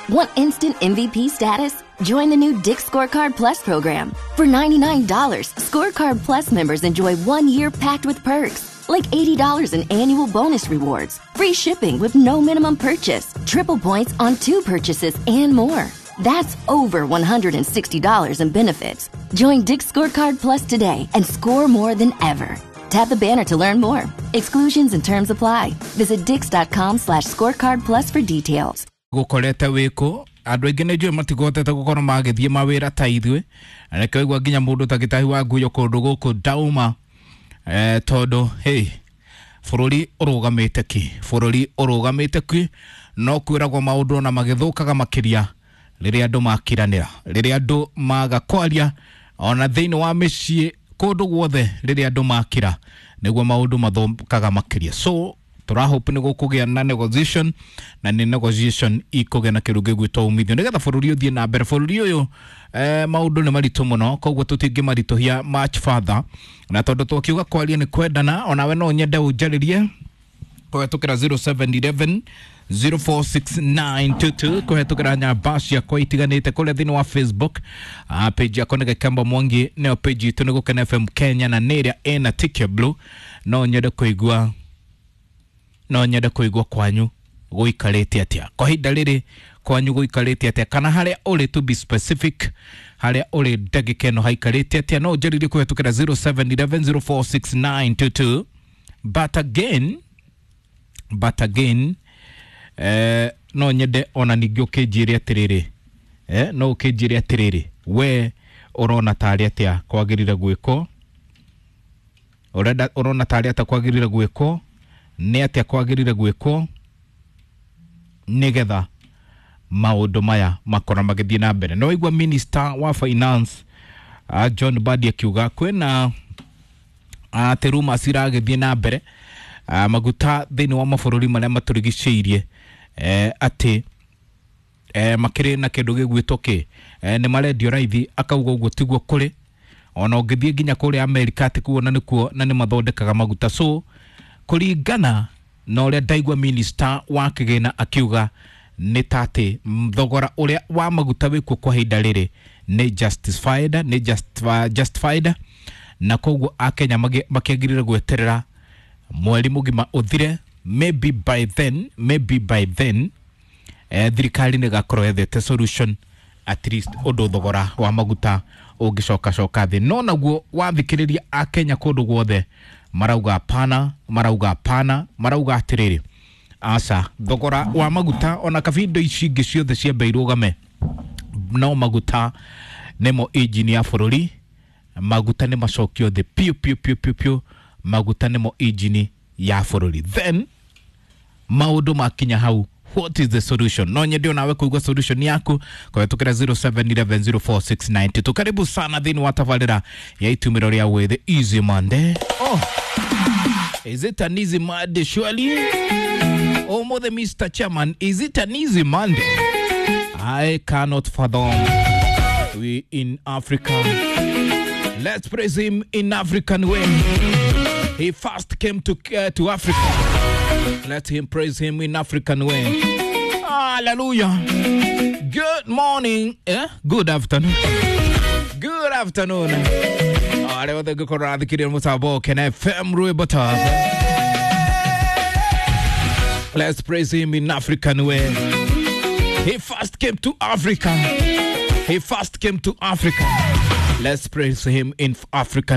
Want instant MVP status? Join the new Dick's Scorecard Plus program. For $99, Scorecard Plus members enjoy 1 year packed with perks, like $80 in annual bonus rewards, free shipping with no minimum purchase, triple points on two purchases, and more. That's over $160 in benefits. Join Dick's Scorecard Plus today and score more than ever. Tap the banner to learn more. Exclusions and terms apply. Visit dix.com/scorecard plus for details. Gukorete wiku andu aingi nĩ njũĩ matigotete gũkorwo magĩthiĩ mawĩra ta ithuĩ, na nĩkĩo igua nginya mũndũ ta gĩtahi wa nguyo kũndũ gũkũ ndauma, tondũ hey, bũrũri ũrũgamĩte ki, bũrũri ũrũgamĩte ki. No kwĩragwo maũndũ ona magĩthũkaga makĩria rĩrĩa andũ makiranĩra, rĩrĩa andũ maga kwaria, ona thĩinĩ wa mĩciĩ kũndũ guothe, rĩrĩa andũ makira nĩguo maũndũ mathũkaga makĩria. So tũrahope nĩ gũkũgĩa na negotiation, na nĩ negotiation ikũgĩa na kĩndũ gĩgwĩtwo umithio nĩgetha bũrũri ũthiĩ na mbere. Bũrũri ũyũ, maũndũ nĩ maritũ mũno, koguo tũtingĩmaritũhia much further. Na tondũ twakiuga kwaria nĩ kwendana, onawe no nyende ũnjarĩrie kũhetũkĩra 0711 046922, kũhetũkĩra nyamba ciakwa itiganĩte kũrĩa thĩinĩ wa Facebook. Page yakwa nĩ Gĩkembo Mwangi, nĩyo page itũ nĩ Gũkena FM Kenya, na nĩ ĩrĩa ĩna tick ya blue. No nyende kũigua, no nyende kũigua kwanyu gũikarĩte atĩa kwa ihinda rĩrĩ, kwanyu gũikarĩte atĩa, kana harĩa ũrĩ, to be specific, harĩa ũrĩ ndagĩka ĩno haikarĩte atĩa. No ũnjarĩrie kũhetũkĩra 0711 046922. But again, no nyende ona ningĩ ũkĩnjĩre atĩrĩrĩ, no ũkĩnjĩre atĩrĩrĩ, we ũrona tarĩ atĩa kwagĩrĩire gwĩkwo, ũrenda ũrona tarĩ atĩa kwagĩrĩire gwĩkwo, nĩ atĩa kwagĩrĩire gwĩkwo nĩgetha maũndũ maya makorwo magĩthiĩ na mbere. No igua minister wa finance, John Mbadi, akiuga kwĩna atĩ rumors iragĩthiĩ na mbere, maguta thĩinĩ wa mabũrũri marĩa matũrigicĩirie, atĩ makĩrĩ na kĩndũ gĩgwĩtwo kĩ, nĩ marendio raithi. Akauga ũguo tiguo kũrĩ, ona ũngĩthiĩ nginya kũrĩa Amerika atĩ kuo na nĩkuo na nĩ mathondekaga maguta. So kũringana na ũrĩa ndaigua minister wa kĩgĩna akiuga nĩ ta atĩ thogora ũrĩa wa maguta wĩkuo kwa ihinda rĩrĩ nĩ justified, nĩ justified, na koguo akenya makĩagĩrĩire gweterera mweri mũgima ũthire. Maybe by then, maybe by then, thirikari nĩ ĩgakorwo yethete solution, at least ũndũ thogora wa maguta ũngĩcoka coka thĩ. No naguo wathikĩrĩria akenya kũndũ guothe marauga hapana, marauga hapana, marauga atĩrĩrĩ, aca, thogora wa maguta ona kabindo ici ingĩ ciothe ciambe irũgame, no maguta nĩmo injini ya bũrũri. Maguta nĩ macokio thĩ piũ piũ piũ piũ piũ, maguta nĩmo injini ya bũrũri. Then maũndũ makinya hau, what is the solution? No nyende onawe kuigua solution yaku kũhetũkĩra 07110469. Karibu sana thĩinĩ wa tabarĩra ya itumĩro rĩa wĩthĩ, Easy Monday. Oh, is it an easy Monday surely? Ũmũthĩ, Mr Chairman, is it an easy Monday? I cannot fathom. We in Africa, let's praise him in African way. He first came to Africa. Let him praise him in African way. Hallelujah. Good morning. Eh? Good afternoon. Good afternoon. Arĩa othe ngĩkorwo rathikĩrĩria mũtambo Kena FM rwĩmbo ta "Let's praise him in African way." He first came to Africa. He first came to Africa. Let's praise him in African